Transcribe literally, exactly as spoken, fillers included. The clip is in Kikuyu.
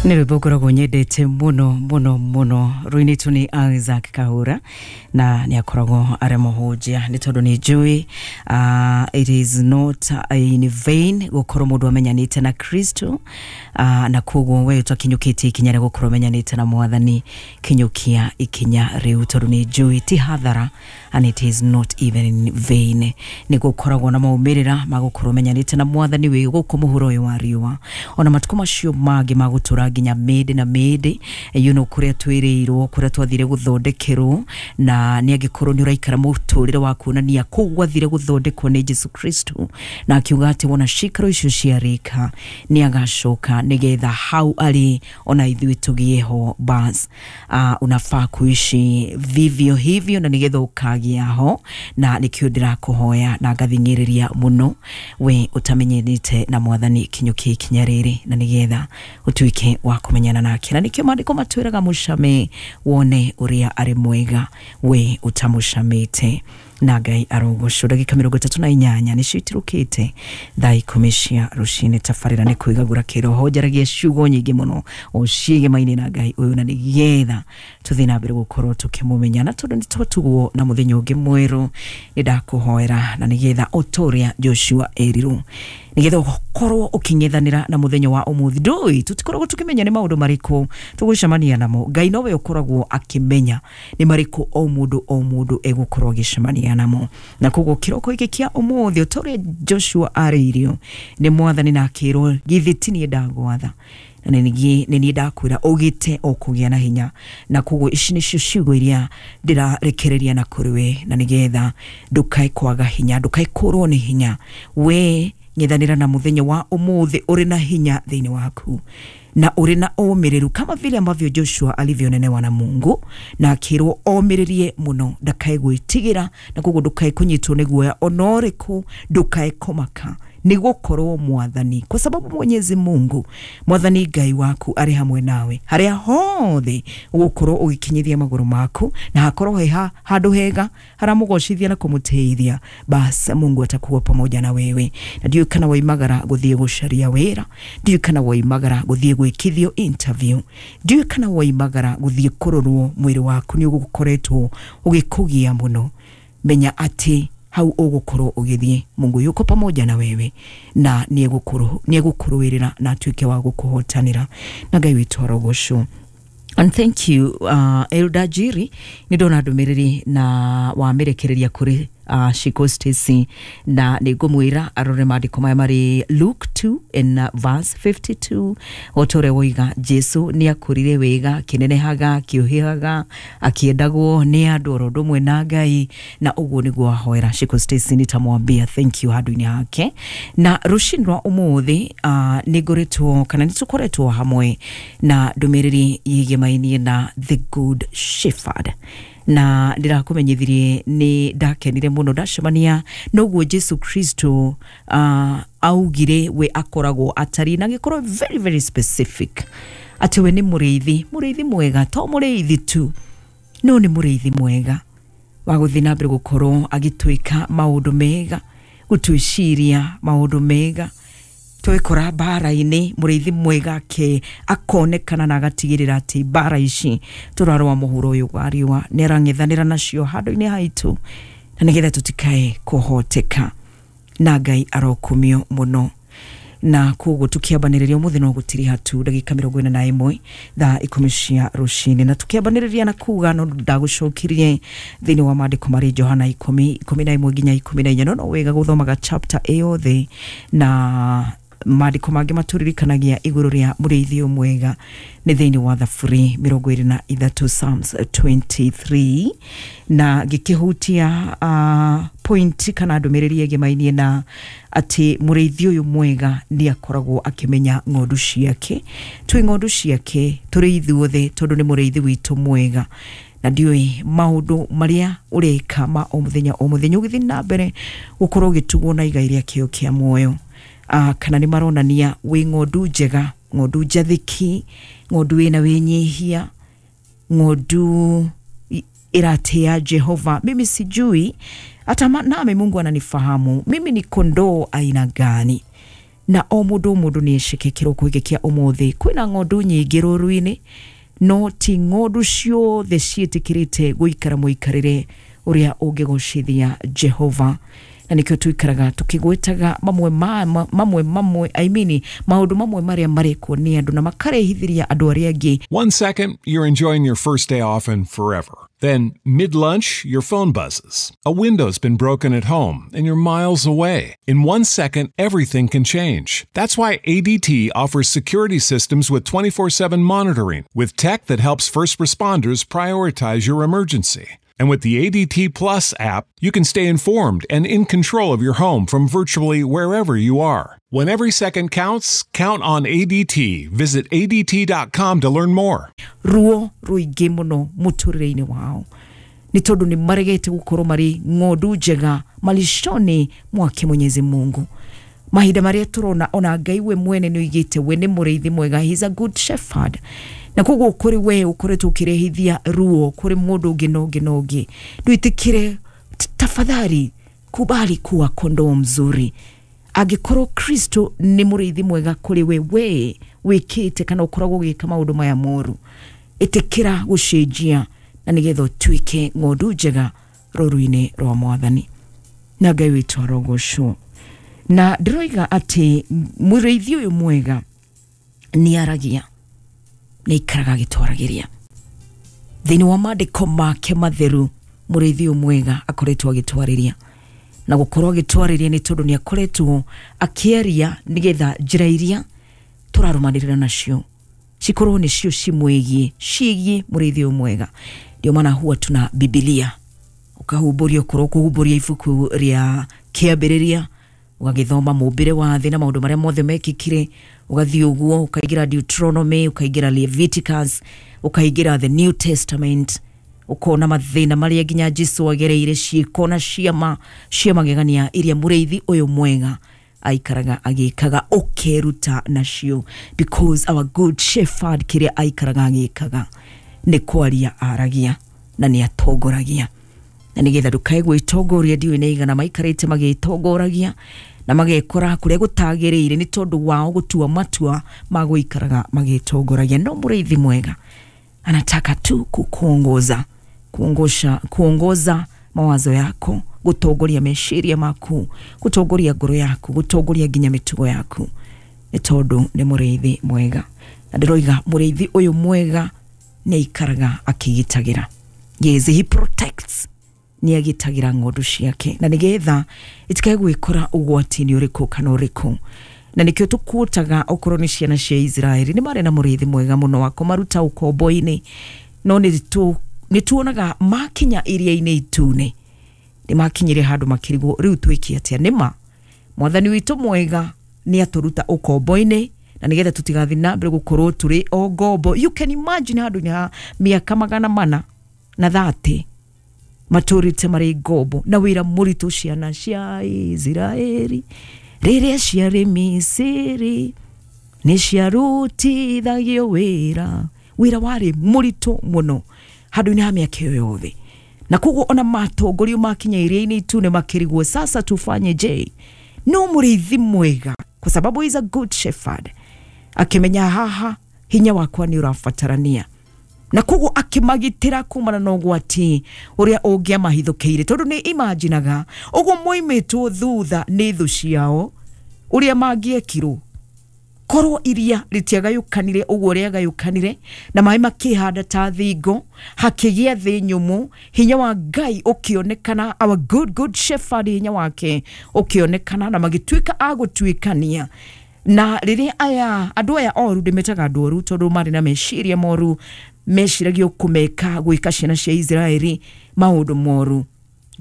Nä rwä mbo ngoragwo nyendete muno muno muno, rũinĩtwo nĩ Isaac Kahũra na nĩ akoragwo arĩ mũhunjia, nĩ tondũ nĩ njũĩ uh, it is not in vain gũkorwo mũndũ amenyanĩte na Kristo, uh, na koguo we ũtakinyũkĩtie ikinya rĩa gũkorwo ũmenyanĩte na Mwathani, kinyũkia ikinya rĩu, tondũ nĩ njũĩ ti hathara and it is not even in vain. Nĩ gũkoragwo na maumĩrĩra ma gũkorwo ũmenyanĩte na Mwathani wĩ gũkũ mũhuro ũyũ wa riũa, ona matukũ macio mangĩ ma gũtũra nginya mĩndĩ na mĩndĩ, you know, kũrĩa twĩrĩirwo, kũrĩa twathire gũthondekerwo. Na nĩ angĩkorwo nĩ ũraikara mũtũrĩre wa kuonania kũu gwathire gũthondekwo nĩ Jesu Kristo, na akiuga atĩ wona cikaro icio ciarĩka nĩ agacoka nĩgetha hau arĩ ona ithuĩ tũgĩe ho. Bas, uh, unafaa kuishi vivyo hivyo na nĩgetha ũkagĩa ho. Na nĩkĩo ndĩrakũhoya na ngathing'ĩrĩria mũno, we ũtamenyanĩte na Mwathani, kinyũkie ikinya rĩrĩ na nĩgetha ũtuĩke wa kũmenyana nake. Na nĩkĩo maandĩko matwĩraga mũcame wone ũrĩa arĩ mwega, we ũtamũcamĩte. Na Ngai arogocwo. Ndagĩka mĩrongo ĩtatũ na inyanya nĩcio itirũkĩte thaa ikũmi cia rũcinĩ. Tabarĩra nĩ kwĩgagũra kĩroho, njaragia ciugo nyingĩ mũno o ciĩgemaine na Ngai ũyũ, na nĩgetha tũthiĩ na mbere gũkorwo tũkĩmũmenya. Na tondũ nĩ twatugwo na mũthenya ũngĩ mwerũ, nĩ ndakũhoera na nĩgetha o ta ũrĩa Joshua erirwo, nĩgetha ũkorwo ũkĩng'ethanĩra na mũthenya wa ũmũthĩ. Ndũĩ, tũtikoragwo tũkĩmenya nĩ maũndũ marĩkũ tũgũcemania namo. Ngai nowe ũkoragwo akĩmenya nĩ marĩkũ o mũndũ o mũndũ egũkorwo agĩcemania namo. Na koguo kĩroko gĩkĩ kĩa ũmũthĩ, o ta ũrĩa Joshua arĩirio nĩ Mwathani na akĩrwo, "Githĩ ti niĩ ndagwatha na nĩ niĩ ndakwĩra ũgĩte o kũgĩa na hinya?" Na koguo ici nĩcio ciugo iria ndĩrarekereria na kũrĩ we, na nĩgetha ndũkae kwaga hinya, ndũkae kũrwo nĩ hinya. We ng'ethanĩra na mũthenya wa ũmũthĩ ũrĩ na hinya thĩinĩ waku na ũrĩ na ũmĩrĩru, kama vile ambavyo Joshua alivyonenewa na Mungu na akĩrwo omĩrĩrie mũno, ndakae gwĩtigĩra. Na koguo ndũkae kũnyitwo nĩ guoya ona ũrĩkũ, ndũkae kũmaka, nĩ gũkorwo Mwathani, kwa sababu Mwenyezi Mungu, Mwathani Ngai waku, arĩ hamwe nawe harĩa hothe ũgũkorwo ũgĩkinyithia magũrũ maku, na hakorwo he ha- handũ hega haramũgocithia na kũmũteithia, bas Mungu atakuwa pamoja na wewe. Na ndiũĩ kana waimagara gũthiĩ gũcaria wĩra, ndiũĩ kana waimagara gũthiĩ gwĩkithio interview, ndiũĩ kana waimagara gũthiĩ kũrorwo mwĩrĩ waku nĩ ũgũkoretwo ũgĩkũgia mũno, menya atĩ hau ũgũkorwo ũgĩthiĩ, Mungu yuko pamoja na wewe na nĩ egũkũrũĩrĩra na atuĩke wa gũkũhotanĩra. Na Ngai witũ arogocwo. And thank you, uh, Elda Jiri, nĩ ndona ndũmĩrĩri na wamĩrekereria kũrĩ uh, Shiko Stacy, na nĩ ngũmwĩra arore maandĩko maya marĩ Luke two in uh, verse fifty-two. O ta ũrĩa woiga, Jesu nĩ akũrire wega, akĩnenehaga, akĩũhĩhaga, akĩendagwo nĩ andũ oro ũndũ ũmwe na Ngai. Na ũguo nĩguo ahoera Shiko Stacy, nitamwambia thank you handũ-inĩ hake. Na rũcinĩ rwa ũmũthĩ uh, nĩ ngoretwo kana nĩ tũkoretwo hamwe na ndũmĩrĩri yĩgemainiĩ na The Good Shepherd, na ndĩrakũmenyithirie nĩ ndakenire mũno ndacemania noguo Jesu Kristo uh, augire we akoragwo atariĩ, na agĩkorwo very very specific atĩ we nĩ mũrĩithi, mũrĩithi mwega. To mũrĩithi tu, no nĩ mũrĩithi mwega wa gũthiĩ na mbere gũkorwo agĩtwĩka maũndũ mega, gũtwĩciria maũndũ mega. Twekora mbara-inĩ, mũrĩithi mwega ake akonekana na agatigĩrĩra atĩ mbara ici tũrarũa mũhuro ũyũ wa riũa nĩ arang'ethanĩra nacio handũ-inĩ haitũ, na nĩgetha tũtikae kũhoteka. Na Ngai arokumio mũno. Na koguo tukiambanĩrĩria ũmũthĩ no gũtiriha tu ndagĩka mĩrongo ĩna na ĩmwe thaa ikũmi cia rũcinĩ, na tukiambanĩrĩria na kuga no ndagũcokirie thĩinĩ wa maandĩko marĩ Johana ikũmi ikũmi na ĩmwe nginya ikũmi na inya. No no wega gũthomaga chapter ĩyothe, na maandĩko mangĩ matũririkanagia igũrũ rĩa mũrĩithi ũyũ mwega nĩ thĩinĩ wa Thaburi mĩrongo ĩrĩ na ithatũ, Psalms twenty-three. Na ngĩkĩhutia uh, point kana ndũmĩrĩri ĩgĩmainie na atĩ mũrĩithi ũyũ mwega nĩ akoragwo akĩmenya ng'ondu ciake. Twĩ ng'ondu ciake tũrĩ ithuothe, tondũ nĩ mũrĩithi witũ mwega. Na ndiũĩ maũndũ marĩa ũreka ma o mũthenya o mũthenya ũgĩthiĩ na mbere gũkorwo ũgĩtugwo na igai rĩa kĩo kĩa muoyo, uh, kana nĩ maronania wĩ ng'ondu njega, ng'ondu njathĩki, ng'ondu wĩna wĩnyihia, ng'ondu i- ĩratĩa Jehova. Mimi sijui hata ma- nami Mungu ananifahamu mimi ni kondoo aina gani. Na o mũndũ o mũndũ nĩ eceke kĩroko gĩkĩ kĩa ũmũthĩ kwĩna ng'ondu nyingĩ rũru-inĩ, no ti ng'ondu ciothe ciĩtĩkĩrĩte gũikara mũikarĩre ũrĩa ũngĩgocithia Jehova. Na nĩkĩo tũikaraga tũkĩgwetaga mamwe ma, mamwe mamwe I mean maũndũ mamwe marĩa marekwo nĩ andũ na makarehithĩria andũ arĩa angĩ. One second, you're enjoying your first day off and forever. Then, mid-lunch, your phone buzzes. A window's been broken at home, and you're miles away. In one second, everything can change. That's why A D T offers security systems with twenty-four seven monitoring, with tech that helps first responders prioritize your emergency. And with the A D T Plus app, you can stay informed and in control of your home from virtually wherever you are. When every second counts, count on A D T. Visit A D T dot com to learn more. Ruo ruingĩ mũno mũtũrĩre-inĩ wao nĩ tondũ nĩ maregete gũkorwo marĩ ng'ondu njega malishoni mwake Mwenyezi Mungu. Mahinda marĩa tũrona ona Ngai we mwene nĩ oigĩte we nĩ mũrĩithi mwega, he is a good shepherd. Na koguo kũrĩ we ũkoretwo ũkĩrehithia ruo kũrĩ mũndũ ũngĩ na ũngĩ na ũngĩ, ndwĩtĩkĩre, tafadhali kubali kuwa kondoo mzuri. Angĩkorwo Kristo nĩ mũrĩithi mwega kũrĩ we, we wĩkĩte kana ũkoragwo ũgĩka maũndũ maya moru, ĩtĩkĩra gũcenjia na nĩgetha ũtuĩke ng'ondu njega rũru-inĩ rwa Mwathani. Na Ngai witũ arogocwo. Na ndĩroiga atĩ mũrĩithi ũyũ mwega nĩ aragia, nĩ aikaraga agĩtwaragĩria. Thĩinĩ wa maandĩko make matheru, mũrĩithi ũyũ mwega akoretwo agĩtwarĩria. Na gũkorwo agĩtwarĩria nĩ tondũ nĩ akoretwo akĩaria nĩgetha njĩra iria tũrarũmanĩrĩra nacio cikorwo nĩcio cimwĩgiĩ, ciĩgiĩ mũrĩithi ũyũ mwega. Ndio maana huwa tuna Biblia, ũkahumbũria, ũkorwo kũhumbũria ibuku rĩa Kĩambĩrĩria, ũgagĩthoma mũmbĩre wa thĩ na maũndũ marĩa mothe mekĩkire, ũgathiĩ ũguo ũkaingĩra Deuteronomy, ũkaingĩra Leviticus, ũkaingĩra the New Testament, ũkona mathĩna marĩa nginya Jesu agereire, ciĩko na ciama cia magegania iria mũrĩithi ũyũ mwega aikaraga agĩkaga, ũkeruta nacio, because our good shepherd kĩrĩa aikaraga agĩkaga nĩ kwaria aragia na nĩ atongoragia. Na nĩgetha ndũkae gwĩtongoria, ndiũĩ nĩ aigana maikarĩte magĩtongoragia na magekora kũrĩa gũtagĩrĩire nĩ tondũ wao gũtua matua ma gũikaraga magĩtongoragia. No mũrĩithi mwega anataka tu kukuongoza, kuongosha, kuongoza mawazo yako, gutongoria meciria maku, gutongoria ngoro yaku, gutongoria nginya mĩtugo yaku, nĩ tondũ nĩ mũrĩithi mwega. Na ndĩroiga mũrĩithi ũyũ mwega nĩ aikaraga akĩgitagĩra. Yes, he protects, nĩ agitagĩra ng'ondu ciake na nĩgetha itikae gwĩkora ũgwati-inĩ ũrĩkũ kana ũrĩkũ. Na nĩkĩo tũkuotaga okorwo nĩ ciana cia Israeli nĩ marĩ na mũrĩithi mwega mũno wa kũmaruta ũkombo-inĩ, no nĩ tuonaga makinya iria-inĩ itune nĩ makinyire handũ makĩrigwo rĩu twĩke atĩa. Nĩma Mwathani witũ mwega nĩ atũruta ũkombo-inĩ na nĩgetha tũtigathiĩ na mbere gũkorwo tũrĩ o ngombo. You can imagine handũ ha mĩaka magana mana na thate matũrĩte marĩ ngombo na wĩra mũritũ. Ciana cia Israeli rĩrĩa ciarĩ Misiri nĩ ciarutithagio wĩra, wĩra warĩ mũritũ mũno handũ-inĩ ha mĩaka ĩyo yothe. Na koguo ona matongorio makinya iria-inĩ itune makĩrigwo sasa tufanye je. No mũrĩithi mwega, kwa sababu he is a good shepherd, akĩmenya haha hinya wakwa nĩ ũrabatarania, na koguo akĩmagitĩra kumana na ũgwati ũrĩa ũngĩamahithũkĩire, tondũ nĩ imaginaga ũguo moimĩtwo thutha nĩ thũ ciao ũrĩa mangĩekirwo korwo iria rĩtiagayũkanire ũguo rĩagayũkanire na maĩ makĩhanda ta thingo, hakĩgĩa thĩ nyũmũ, hinya wa Ngai ũkĩonekana, our good good shepherd hinya wake ũkĩonekana, na magĩtuĩka a gũtuĩkania. Na rĩrĩa aya andũ aya oru, ndĩmetaga andũ oru tondũ marĩ na meciria moru, meciragio kũmeka gwĩka ciana cia Israeli maũndũ moru,